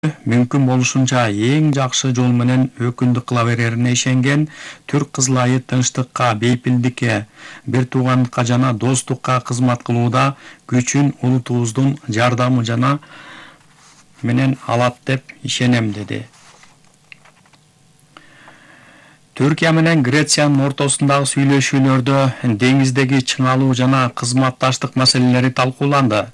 мүмкүн болушунча эң жакшы жол менен өкүндүк кыла берерине ишенген Түрк кызыл айы тынчтыкка, бейпилдикке, бир туугандыкка жана достукка кызмат кылууда күчүн улутубуздун жардамы жана менен алат деп ишенем, деди. Түркия менен Грециянын ортосундагы сүйлөшүүлөрдө деңиздеги чыңалуу жана кызматташтык маселелери талкууланды.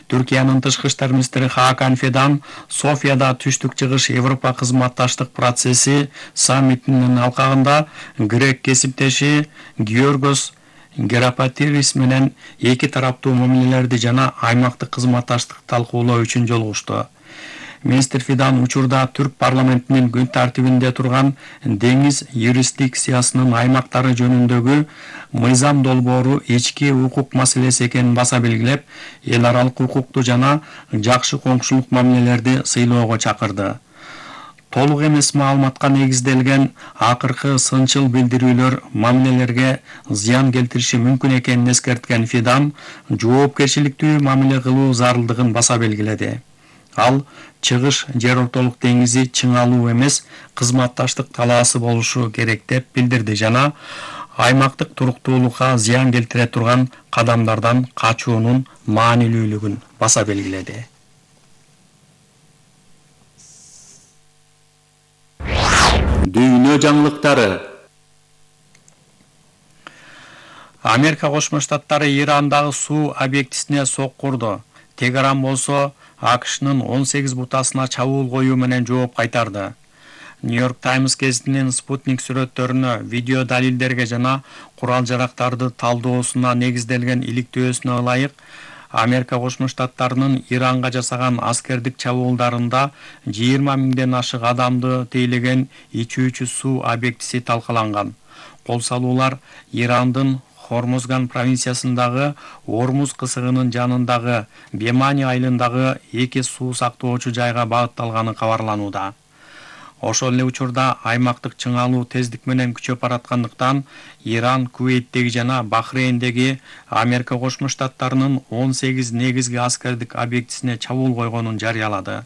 Түркиянын тышкы иштер министри Хакан Фидан Софияда түштүк чыгыш Европа кызматташтык процесси саммитинин алкагында грек кесиптеши Георгос Герапатирис менен эки тараптуу мамилелерди жана аймактык кызматташтыкты талкуулоо үчүн жолугушту. Министр Фидан учурда Түрк парламентинин күн тартибинде турган деңиз юрисдикциясынын аймактары жөнүндөгү мыйзам долбоору ички укук маселеси экенин баса белгилеп, эл аралык укукту жана жакшы коңшулук мамилелерди сыйлоого чакырды. Толук эмес маалыматка негизделген акыркы сынчыл билдирүүлөр мамилелерге зыян келтириши мүмкүн экенин эскерткен Фидан жоопкерчиликтүү мамиле кылуу зарылдыгын баса белгиледи. Ал чыгыш жер ортолук деңизи чыңалуу эмес, кызматташтык талаасы болушу керек деп билдирди жана аймактык туруктуулукка зыян келтире турган кадамдардан качуунун маанилүүлүгүн баса белгиледи. Дүйнө жаңылыктары. Америка Кошмо Штаттары Ирандагы суу объектисине соккурду. Тегеран болсо АКШнын 18 бутасына чабуул коюу менен жооп кайтарды. Нью-Йорк Таймс гезитинин спутник сүрөттөрүнө, видео далилдерге жана курал-жарактарды талдоосуна негизделген иликтөөсүнө ылайык, Америка Кошмо Штаттарынын Иранга жасаган аскердик чабуулдарында 20 миңден ашык адамды тейлеген ичүүчү суу объектиси талкаланган. Кол салуулар Ирандын Хормузган провинциясындагы Ормуз кысыгынын жанындагы Бемани айылындагы эки суу сактоочу жайга багытталганы кабарланууда. Ошол эле учурда аймактык чыңалуу тездик менен күчөп бараткандыктан Иран Кувейттеги жана Бахрейндеги Америка Кошмо Штаттарынын 18 негизги аскердик объектисине чабуул койгонун жарыялады.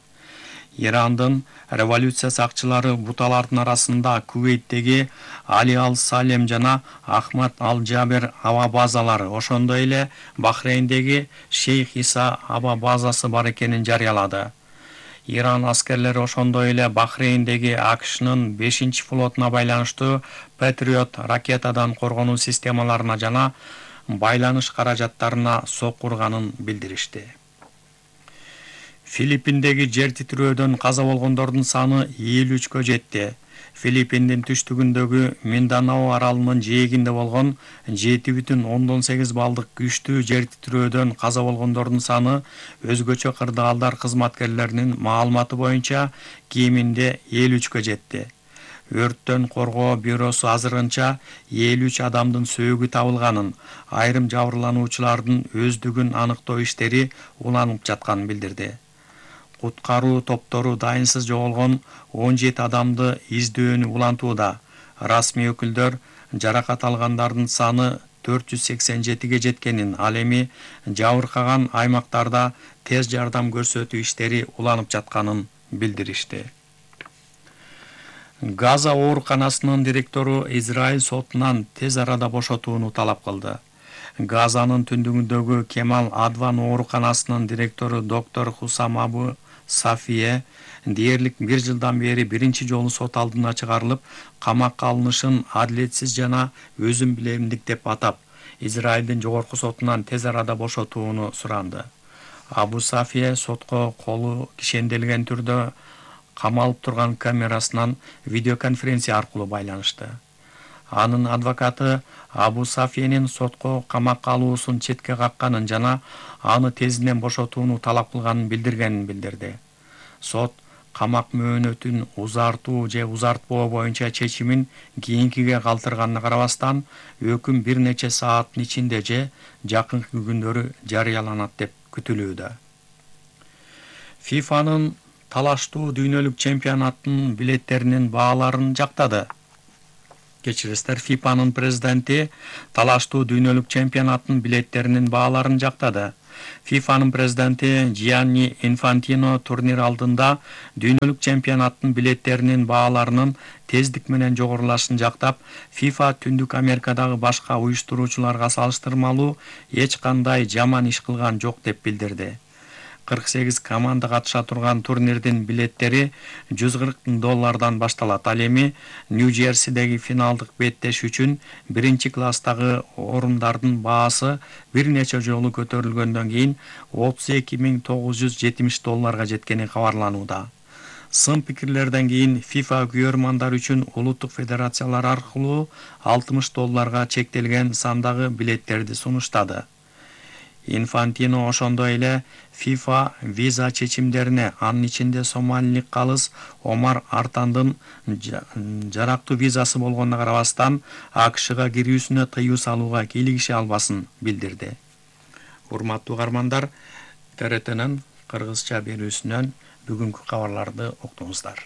Ирандын революция сакчылары буталардын арасында Кувейттеги Али Ал-Салем жана Ахмад Ал-Джабер аба базалары, ошондой эле Бахрейндеги Шейх Иса аба базасы бар экенин жарыялады. Иран аскерлери ошондой эле Бахрейндеги АКШнын 5-флотуна байланыштуу Patriot ракетадан коргонуу системаларына жана байланыш каражаттарына соккурганын билдиришти. Филиппиндеги жер титирөөдөн каза болгондордун саны 53-кө жетти. Филиппиндин түштүгүндөгү Минданао аралынын жээгинде болгон 7,8 балдык күчтүү жер титирөөдөн каза болгондордун саны өзгөчө кырдаалдар кызматкерлеринин маалыматы боюнча кеминде 53-кө жетти. Өрттөн коргоо бюросу азырынча 53 адамдын сөөгү табылганын, айрым жабырлануучулардын өздүгүн аныктоо иштери уланып жатканын билдирди. Куткаруу топтору дайынсыз жоголгон 17 адамды издөөнү улантууда. Расмий өкүлдөр жаракат алгандардын саны 487-ге жеткенин, ал эми жабыркаган аймактарда тез жардам көрсөтүү иштери уланып жатканын билдиришти. Газа ооруканасынын директору Израиль сотунан тез арада бошотууну талап кылды. Газанын түндүгүндөгү Кемал Адван ооруканасынын директору доктор Хусам Абу Сафие дээрлик 1 жылдан бери биринчи жолу сот алдына чыгарылып, камакка алынышын адилетсиз жана өзүм билемдик деп атап, Израилдин жогорку сотунан тез арада бошотууну суранды. Абу Сафие сотко колу кишенделген түрдө камалып турган камерасынан видеоконференция аркылуу байланышты. Анын адвокаты Абу Сафиенин сотко камакка алуусун четке какканын жана аны тезинен бошотууну талап кылганын билдиргенин билдирди. Сот камак мөөнөтүн узартуу же узартпоо боюнча чечимин кийинкиге калтырганына карабастан, өкүм бир нече сааттын ичинде же жакынкы күндөрү жарыяланат деп күтүлүүдө. ФИФАнын талаштуу дүйнөлүк чемпионаттын билеттеринин бааларын жактады. Кечиресиздер, ФИФАнын президенти талаштуу дүйнөлүк чемпионаттын билеттеринин бааларын жактады. ФИФАнын президенти Джианни Инфантино турнир алдында дүйнөлүк чемпионаттын билеттеринин бааларынын тездик менен жогорулашын жактап, ФИФА Түндүк Америкадагы башка уюштуруучуларга салыштырмалуу эч кандай жаман иш кылган жок деп билдирди. 48 команда катыша турган турнирдин билеттери $140 башталат. Ал эми Нью-Джерсидеги финалдык беттеш үчүн биринчи класстагы орундардын баасы бир нече жолу көтөрүлгөндөн кийин $32.970 жеткени кабарланууда. Сын пикирлерден кийин ФИФА күйөрмандар үчүн улуттук федерациялар аркылуу $60 чектелген сандагы билеттерди сунуштады. Инфантино ошондой эле ФИФА виза чечимдерине, анын ичинде сомалилик калыс Омар Артандын жарактуу визасы болгонуна карабастан АКШга кирүүсүнө тыюу салууга кийлигише албасын билдирди. Урматтуу угармандар, ТРТнын кыргызча берүүсүнөн бүгүнкү кабарларды уктуңуздар.